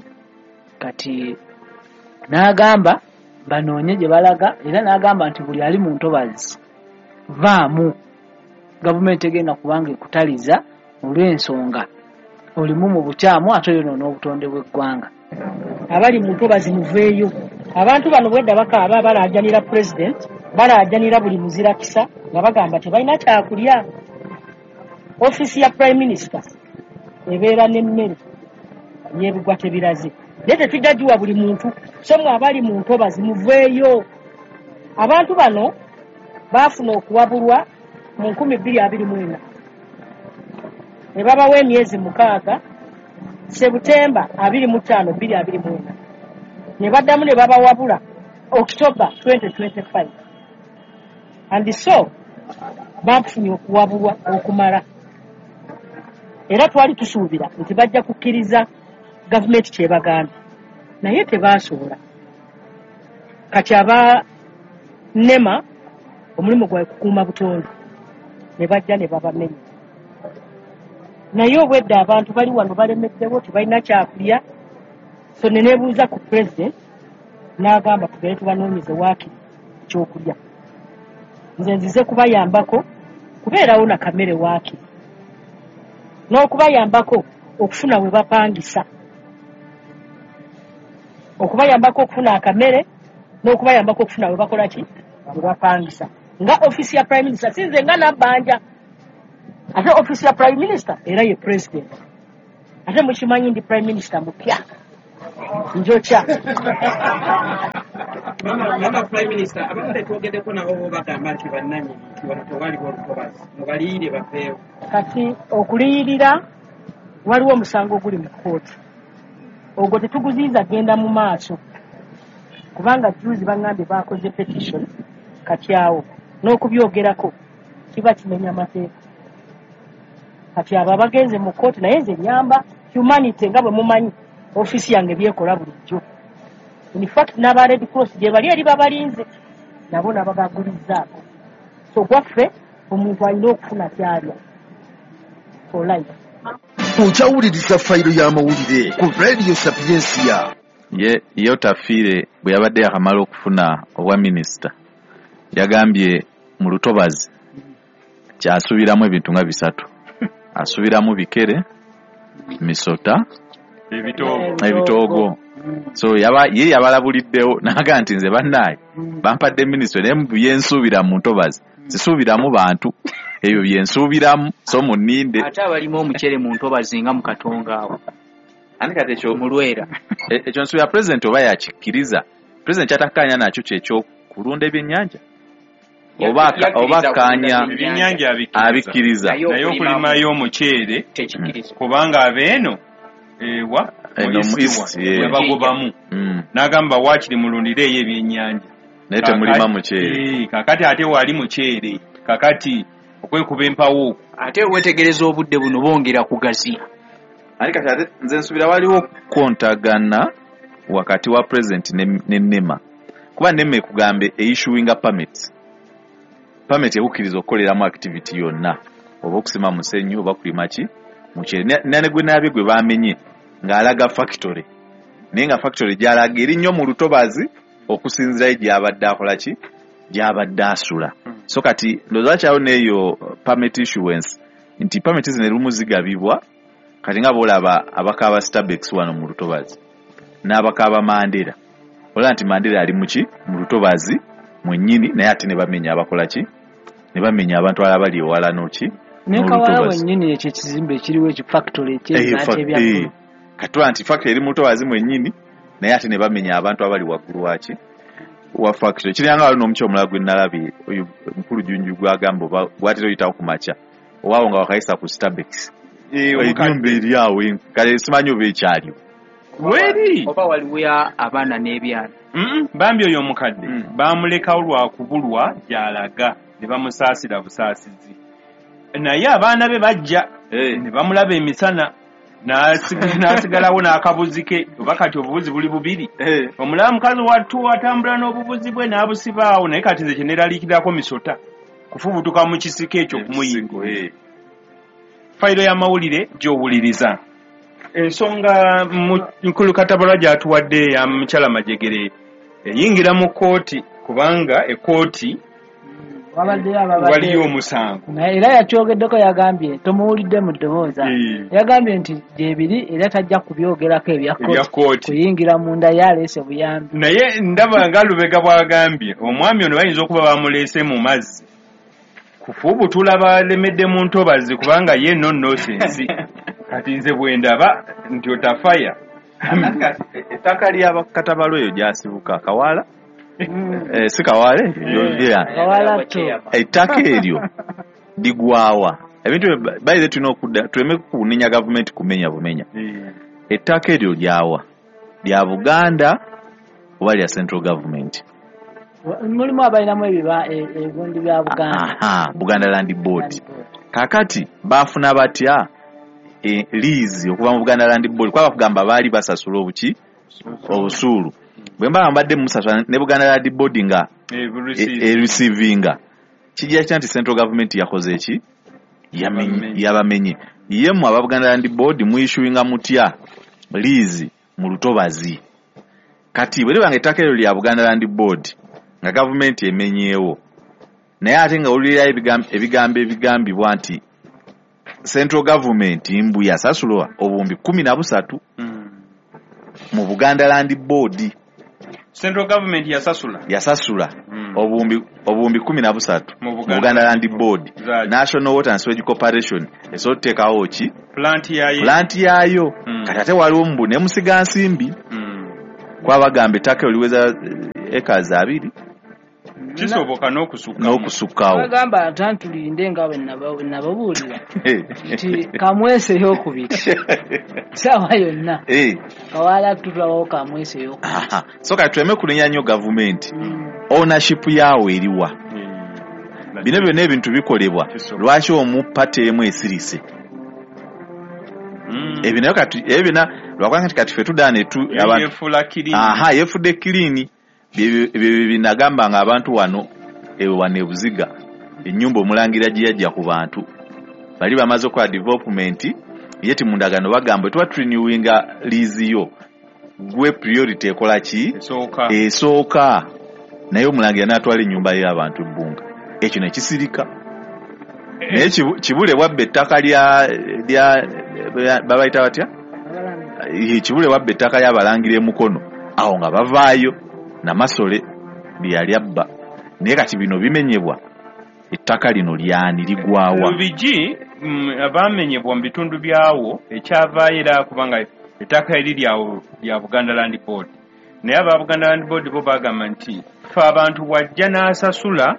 Kati n'agamba banoonye gye balaga, era n'agamba nti buli ali mu ntobazi vaamu, gavumenti egenda kubanga ekutaliza olw'ensonga Olimu mu bukyamu ate oyonoona obutonde bw'eggwanga. Abali mu ntobazi muveeyo. Abantu bano bwedda bakaaba balaajanira president, balaajanira buli muzirakisa nga bagamba tebalina kyakulya. Ofiisi ya prime minister ebeera n'emmere y'ebigwa tebiraze, naye tetujja giwa buli muntu. So mwe abali mu ntobazi muveeyo. Abantu bano baafuna okuwabulwa mu nkumi bbiri abiri mu ena ne babawa emyezi mukaaga, Sebutemba abiri mu ttaano bbiri abiri mu ena ne baddamu ne babawabula October twenty twenty-five. And so bafunye okuwabulwa okumala, era twali tusuubira nti bajja kukkiriza gavumenti kyebagambye, naye tebaasobola. Kati aba NEMA omulimu gwabwe kukuuma butonde, ne bajja ne babamenya. Naye obwedda abantu bali wano balemeddewo, tebalina kyakulya. So ne neebuuza ku president n'agamba tugende tubanoonyeze waakiri ekyokulya. Nze nzize kubayambako kubeerawo na kamere waakiri, n'okubayambako okufuna we bapangisa, okubayambako okufuna akamere n'okubayambako okufuna we bakola ki, we bapangisa. Nga ofiisi ya prime minister, sinze nga Nabbanja, ate ofiisi ya prime minister era ye president. Ate mukimanyi ndi prime minister mupya njokya. Mama prime minister, abadde twogeddeko nabo bo bagamba nti bannannyini nti wano tewaliwo lutobazi, mubaliyirire baveewo. Kati okuliyirira waliwo omusango oguli mu kkooti, ogwo tetuguziyiza genda mu maaso, kubanga juzi baŋŋambye baakoze petition. Kati awo n'okubyogerako kiba kimenya amateeka. Kati abo abagenze mu kkooti, naye nze nyamba humanity nga bwe mumanyi ofiisi yange byekola bulijjo. In fact n'aba Red Cross gye bali eri babalinze nabo nababagulizzaako. So gwaffe omuntu alina okufuna kyalya for life. Okyawuliriza fayiro y'amawulire ku Radio Sapientia. Ye ye Otafiire bwe yabadde yakamala okufuna obwa minisita yagambye mu lutobazi kyasuubiramu ebintu nga bisatu. Asuubiramu bikere, misota, ebitoogo. Ebitoogo. So yaba ye yabalabuliddewo n'agamba nti nze bannaaye bampadde minisitule naye byensuubira mu ntobazi sisuubiramu bantu, ebyo byensuubiramu, so munninde. Ate abalimu omucere mu ntobazi nga mu Katonga awo. Ani kati ekyo mu Lwera. Ekyo nsuubira president oba yakikkiriza. President kyatakkaanya nakyo kyekyokulunda ebyennyanja oba oba akkaanya ebyennyanja abikkiriza, naye okulimayo omuceere kubanga abeeno ewa mu East webagobamu n'agamba waakiri mulundireeyo ebyennyanja naye temulima muceere. Kakati ate wali muceere, kakati okwekuba empawo okwo. Ate weetegereza obudde buno bongera kugaziya. Ani kati ate nze nsuubira waliwo kontagana wakati wa president ne, ne NEMA, kuba NEMA ekugambe eissuinga permits. Permit ekukkiriza okukoleramu activity yonna, oba okusima musenyu oba kulima ki muceere. Nane gwe naabye gwe bamenye ng'alaga factory, naye nga factory gy'alaga eri nnyo mu lutobazi okusinziirayo gy'abadde akola ki, gy'abadde asula. So kati ndowooza kyawo n'eyo permit issuance nti permit zino erumu zigabibwa. Kati nga bw'olaba abakaaba Starbucks wano mu lutobazi n'abakaaba Mandela, olaba nti Mandela ali muki mu lutobazi mwennyini, naye ate ne bamenya abakola ki, ne bamenya abantu abalala bali ewala n'oki ne Kawala wennyini. Ekyo ekizimbe ekiriwo ekyo factory eky'ebyakulya kati nti factory eri mu lutobazi mwennyini, naye ate ne bamenya abantu abali waggulu waki wa factory. Kiringa waliwo n'omuky omulala gwe nalabye oyo mukulu Junju gw'agamba oba gw'atera oyitawo ku makya owaawo nga wakayisa ku Starbucks, ennyumba eri awo kale simanyi oba ekyaliwo weri oba waliwo abaana n'ebyana. Bambi oyo omukadde bamulekawo lwa kubulwa gy'alaga ne bamusaasira busaasizi, naye abaana be bajja ne bamulaba emisana n'asigalawo n'akabuzi ke, oba kati obubuzi buli bubiri. Omulaba mukazi wattu atambula n'obubuzi bwe n'abusibaawo, naye kati nze kye neeraliikirirako misota kufubutuka mu kisiko ekyo okumuyingira. Fayiro y'amawulire gy'owuliriza. Ensonga mukulu Katabalwa gy'atuwadde ya mukyala Majegere eyingira mu kkooti, kubanga ekkooti Wabaddeyo ababadde waliyo omusango. Naye era yakyogeddeko yagambye tomuwulidde mu ddoboozi. Yagambye nti gyebiri era tajja kubyogerako ebya kkooti kuyingira munda yaleese buyambi. Naye ndaba nga Lubega bw'agambye omwami ono bayinza okuba bamuleese mu mazzi kufuubutula balemedde mu ntobazi kubanga ye no nonsense. Kati nze bwe ndaba nti otafaya. Ettaka lya Katabalo eyo gyasibuka Kawala. Eh, si Kawale? Ettaka eryo ligwawa. Ebintu bayize tulina okudda tuleme kunenya gavumenti kumenya bumenya. Ettaka eryo lyawa lya Buganda oba lya Central Government? Mulimu abalinamu ebiba ebigundi bya Buganda. Aha, Buganda Land Board. Kakati baafuna batya e, lease okuva mu Buganda Land Board? Kuba bakugamba baali basasula obuki obusuulu. Bwe mba mbadde musasula ne Buganda Land Board nga ereceiving, kijja kitya nti Central Government yakoze eki? Yabamenye. Ye mmwe aba Buganda Land Board muyissuinga mutya lease mu lutobazi? Kati bwe liba nga ettaka eryo lya Buganda Land Board nga gavumenti emenyeewo, naye ate nga owulira ebigambo ebigambibwa nti Central Government mbu yasasulwa obuwumbi kkumi na busatu mu Buganda Land Board. Central Government yasasula yasasula obuwumbi obuwumbi kkumi na busatu mu Buganda Land Board. National Water and Sewage Corporation esobola okuteekawo ki plant yayo, plant yayo. Kati ate waliwo mbu ne Musigansimbi kwabagamba ettaka oliweza ekazi abiri kisoboka n'okusukkawo n'okusukkawo. Bagamba atantulinde nga bwe nababuulira nti kamwese ey'okubiri ssaawa yonna Kawala tutulabawo kamwese ey'okubiri. So kati tuleme kunenya nnyo gavumenti, ownership yaawo eriwa? Bino byonna ebintu bikolebwa, lwaki omu pate emu esirise? Ebyo nayo kati ebyo byonna lwakuba nti kati ffe tudda ne tu aha yeefudde kiriini. Ebyo binagamba nga abantu wano ewe wano ebuziga ennyumba omulangira gye yajja ku bantu bali bamaze okukola development, ye ti mu ndagaano bagamba tuba turenewinga lease yo gwe priority ekola ki esooka, naye omulangira n'atwala ennyumba y'abantu ebbunga ekyo ne kisirika. Naye Kibule wabba ettaka lya lya babayita batya? Kibule wabba ettaka ly'abalangira e Mukono awo nga bavaayo Namasole lyali abba. Naye kati bino bimenyebwa, ettaka lino lyani ligwawa? Lubigi abamenyebwa mu bitundu byawo ekyavaayo era kubanga ettaka eri lyawo lya Buganda Land Board, naye aba Buganda Land Board bo bagamba nti ffe abantu bw'ajja n'asasula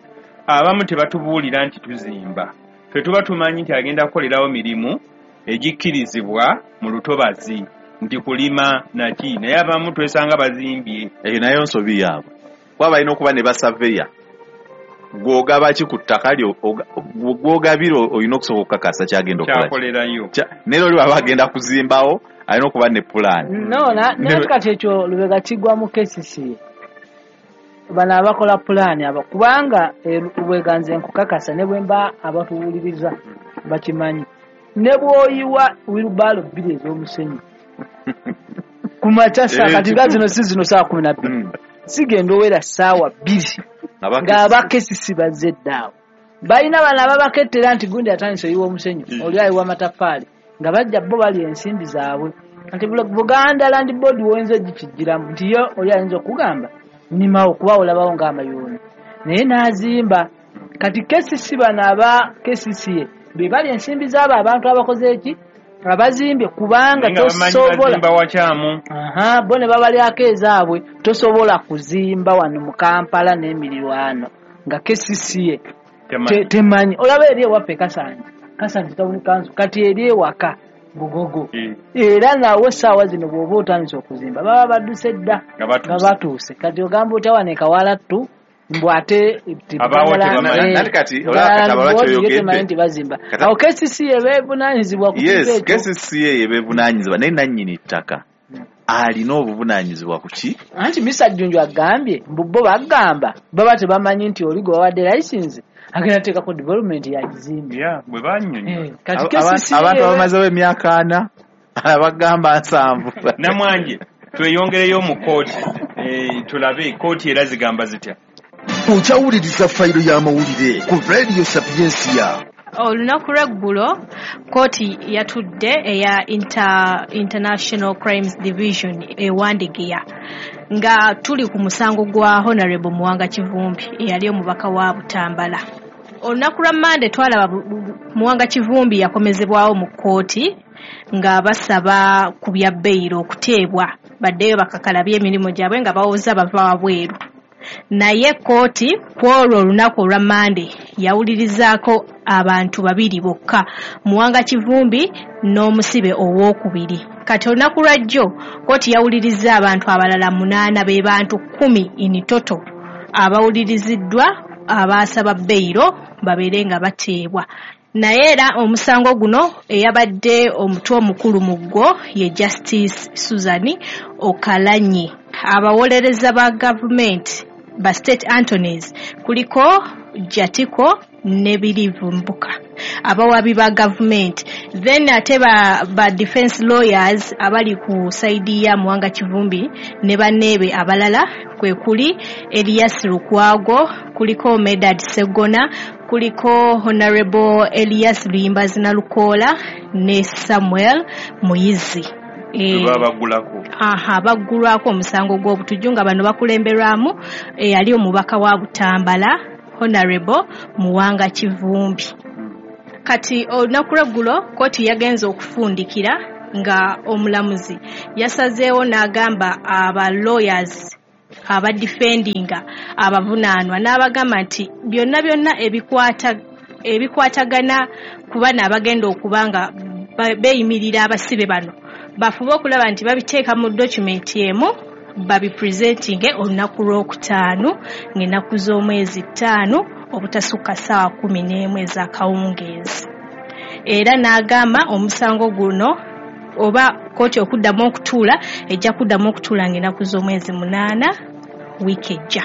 abamu tebatubuulira nti tuzimba, ffe tuba tumanyi nti agenda kukolerawo mirimu egikkirizibwa mu lutobazi nti kulima naki, naye abamu twesanga bazimbye. Eyo nayo nsobi yaabwe kuba balina okuba ne basaveya. Gw'ogaba ki ku ttaka lyo gw'ogabira olina okusooka okukakasa kyagenda okukola, naye oli bw'aba agenda kuzimbawo alina okuba ne pulaani. No, naye kati ekyo Lubega kigwa mu K C C bano abakola pulaani abo, kubanga Lubega nze nkukakasa ne bwe mba abatuwuliriza bakimanyi, ne bw'oyiwa wirubaalo bbiri ez'omusenyu ku makya saa kati nga zino si zino saa kumi na bbiri sigenda owera ssaawa bbiri ng'aba K C C bazze ddaawo. Balina bano ababakettera nti gundi atandise oyiwa omusenyu, oli ayiwa amataffaali, nga bajja bo balya ensimbi zaabwe. Nti Buganda Land Board woyinza ogikijjiramu nti yo oli ayinza okugamba nnimawo kuba olabawo ng'amayuuni, naye n'azimba. Kati K C C bano aba K C C be balya ensimbi zaabo abantu abakoze eki abazimbye, kubanga tosobola aha bo ne babalyako ezaabwe. Tosobola kuzimba wano mu Kampala n'emirirwano nga K C C temanyi. Olaba eri ewaffe Kasanje, Kasanje Town Council, kati eri ewaka Bugogo, era nawe essaawa zino bw'oba otandise okuzimba baba badduse dda nga batuuse. Kati ogamba otya wano e Kawala ttu mbu ate nti bazimba. Awo K C C ebeevunaanyizibwa ku ekyo. K C C ebeevunaanyizibwa, naye nannyini ttaka alina obuvunaanyizibwa ku ki? Anti Mister Jjunju agambye mbu bo bagamba baba tebamanyi nti oli gwe bawadde license agenda teekako development yagizimbe. Bwe bannyonnyola abantu abamazewo emyaka ana abagamba nsanvu. Namwanje tweyongereyo mu kkooti tulabe kkooti era zigamba zitya. Okyawuliriza fayiro y'amawulire ku Radio Sapientia. Olunaku lw'eggulo kkooti yatudde eya Inter, International Crimes Division e Wandegeya nga tuli ku musango gwa Honorable Muwanga Kivumbi eyali omubaka wa Butambala. Olunaku lwa Mmande twalaba Muwanga Kivumbi yakomezebwawo mu kkooti nga basaba ku bya beyiro okuteebwa baddeyo bakakalabye emirimu gyabwe nga bawoza bava wabweru. Naye kkooti ku olwo olunaku olwa Mmande yawulirizaako abantu babiri bokka, Muwanga Kivumbi n'omusibe owookubiri. Kati olunaku lwa jjo kkooti yawulirizza abantu abalala munaana, be bantu kkumi in total abawuliriziddwa abaasaba beyiro babeere nga bateebwa. Naye era omusango guno eyabadde omutwe omukulu mu gwo ye Justice Susan Okalanyi. Abawolereza ba gavumenti ba state attorneys kuliko Jatiko ne Birivumbuka abawabi ba gavumenti, then ate ba, ba defense lawyers abali ku saidi ya Muwanga Kivumbi ne banneebe abalala kwe kuli Elias Lukwago, kuliko Medad Segona, kuliko Honorable Elias Luyimbazi Nalukoola ne Samuel Muyizi. E, babagulako aha baggulwako omusango gw'obutujju nga bano bakulemberwamu eyali omubaka wa Butambala Honorable Muwanga Kivumbi. Kati olunaku lw'eggulo kkooti yagenze okufundikira nga omulamuzi yasazeewo n'agamba aba lawyers abadefendinga abavunaanwa n'abagamba nti byonna byonna ebikwata ebikwatagana ku bano abagenda okuba nga beeyimirira abasibe bano bafube okulaba nti babiteeka mu document emu babipresentinge olunaku lwokutaano ng'ennaku z'omwezi ttaano obutasukka ssaawa kkumi n'emu ez'akawungeezi. Era n'agamba omusango guno oba kkooti okuddamu okutuula ejja kuddamu okutuula ng'ennaku z'omwezi munaana wiiki ejja.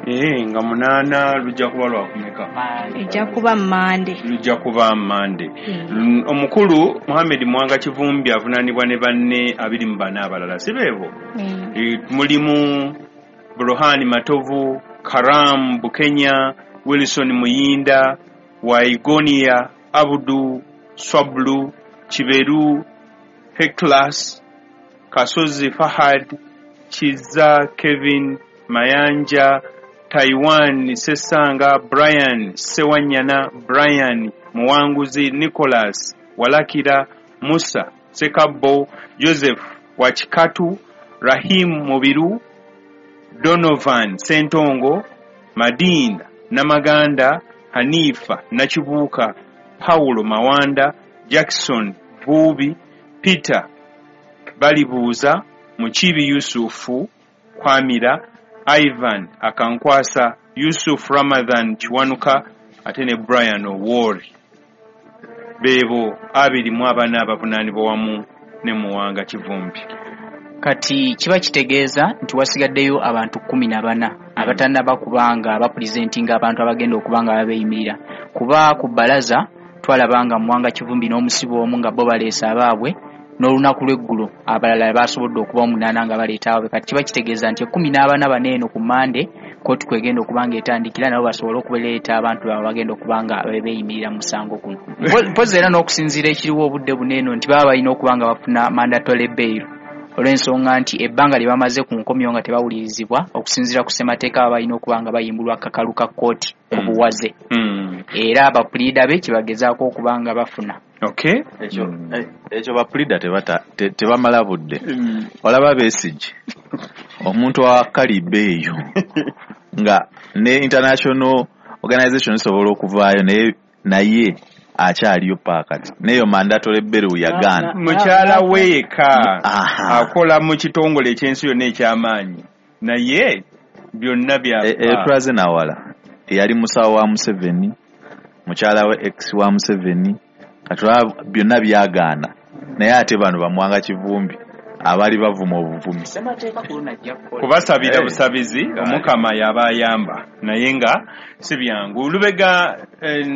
Eh, nga munaana lujja kuba lwakumeka? Ejja kuba Mmande. Lujja kuba Mmande. Mm. Omukulu Muhammad Muwanga Kivumbi avunaanibwa ne banne abiri mu bana abalala, si beebo? Mm. E, mulimu Burhani Matovu, Karam Bukenya, Wilson Muyinda, Waigonia, Abdu Swablu, Kiberu, Heklas, Kasozi Fahad, Kiza Kevin Mayanja, Taiwan Sesanga, Brian Sewanyana, Brian Muwanguzi, Nicholas Walakira, Musa Sekabo, Joseph Wachikatu, Rahim Mubiru, Donovan Sentongo, Madina Namaganda, Hanifa Nakibuuka, Paulo Mawanda, Jackson Buubi, Peter Balibuuza, Mukibi Yusufu Kwamira, Ivan Akankwasa, Yusuf Ramadhan Kiwanuka ate ne Brian Owori. Beebo abiri mu abana abavunaanibwa wamu ne Muwanga Kivumbi. Kati kiba kitegeeza nti wasigaddeyo abantu kkumi na bana abatannaba kubanga abapurezentinga abantu abagenda okuba nga babeeyimirira, kuba ku bbalaza twalabanga Muwanga Kivumbi n'omusibe omu nga bo baleese abaabwe, n'olunaku lw'eggulo abalala basobodde okuba omunaana nga baleeta abaabwe. Kati kiba kitegeeza nti ekkumi n'abana bano eno ku Mmande kkooti kwegenda okuba nga etandikira nabo basobole okuleeta abantu baabwe bagenda okuba nga beeyimirira mu musango guno. Mpozzi era n'okusinziira ekiriwo obudde buno eno nti baba balina okuba nga bafuna mandatory bail olw'ensonga nti ebbanga lye bamaze ku nkomyo nga tebawulirizibwa, okusinziira ku ssemateeka baba balina okuba nga bayimbulwa akakalu ka kkooti ku buwaze. Era abapuliida be kyebagezaako okuba nga bafuna. Okay. Ekyo ekyo bapuliida tebamala budde. Olaba Besigye omuntu wa kaliba eyo nga ne international organization esobola okuvaayo naye naye akyaliyo paakati neyo mandatory bail yagaana. Mukyala weeka akola mu kitongole ekyensi yonna ekyamaanyi naye byonna bya etwaze nawala eyali musawo wa Museveni, mukyala we ex wa Museveni, katulaba byonna byagaana naye ate bano bamuwanga Kivumbi abali bavuma obuvumi kubasabira busabizi omukama yaba ayamba naye nga si byangu. Lubega eh,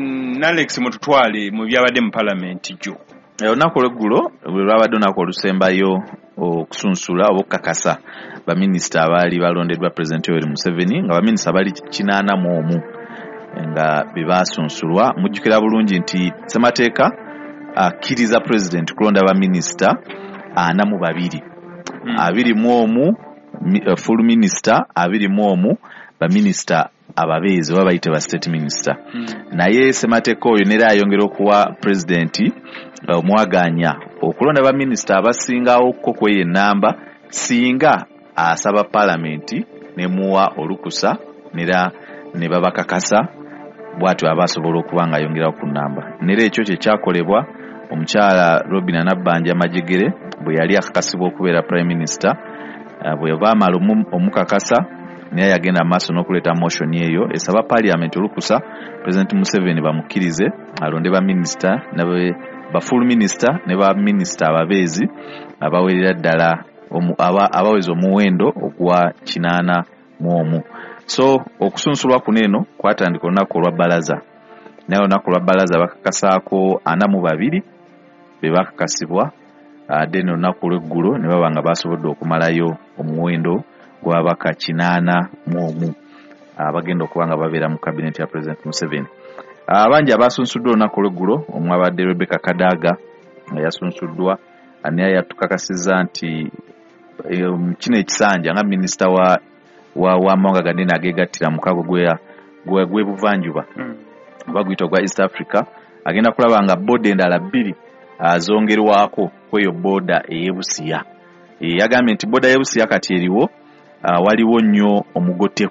Alex mututwale mu byabadde mu palamenti jjo olunaku olweggulo lwe lwabadde olunaku olusembayo Okusunsula oba okukakasa baminisita abaali balondeddwa Pulezidenti Yoweri Museveni, nga baminisita bali kinaana mu omu nga be baasunsulwa. Mujjukira bulungi nti ssemateeka akkiriza pulezidenti kulonda baminisita ana mu babiri, abiri mu omu full minister, abiri mu omu baminisita ababeezi oba bayite ba state minister. Naye ssemateeka oyo nera ayongera okuwa pulezidenti omwaganya okulonda baminisita abasingawo ko kweyo ennamba singa asaba paalamenti nemuwa olukusa nera ne babakakasa, bw'atyo aba asobola okuba nga ayongerawo ku nnamba. Nera ekyo kye kyakolebwa omukyala Robinah Nabbanja Majegere bwe yali akakasibwa okubeera prime minister. Bwe baamala omukakasa, naye yagenda maaso n'okuleeta motion eyo esaba parliament olukusa President Museveni bamukkirize alonde baminisita, ba full minister ne ba minisita ababeezi abawerera ddala abaweza omuwendo ogwa kinaana mu omu. So okusunsulwa kuno eno kwatandika olunaku olwa bbalaza, naye olunaku olwa bbalaza bakakasaako ana mu babiri be bakakasibwa, then olunaku olw'eggulo ne baba nga basobodde okumalayo omuwendo gw'ababaka kinaana mu omu abagenda okuba nga babeera mu kabineti ya President Museveni. Abangi abasunsuddwa olunaku olw'eggulo omwabadde Rebecca Kadaga nga yasunsuddwa, naye yatukakasizza nti kino ekisanja nga minisita wa w'amawanga ganene ageegattira mukago gw'ebuvanjuba oba guyita ogwa East Africa, agenda kulaba nga booda endala bbiri zongerwako kweyo booda ey'e Busia. Yagambye nti booda y'e Busia kati eriwo, waliwo nnyo omugotteko.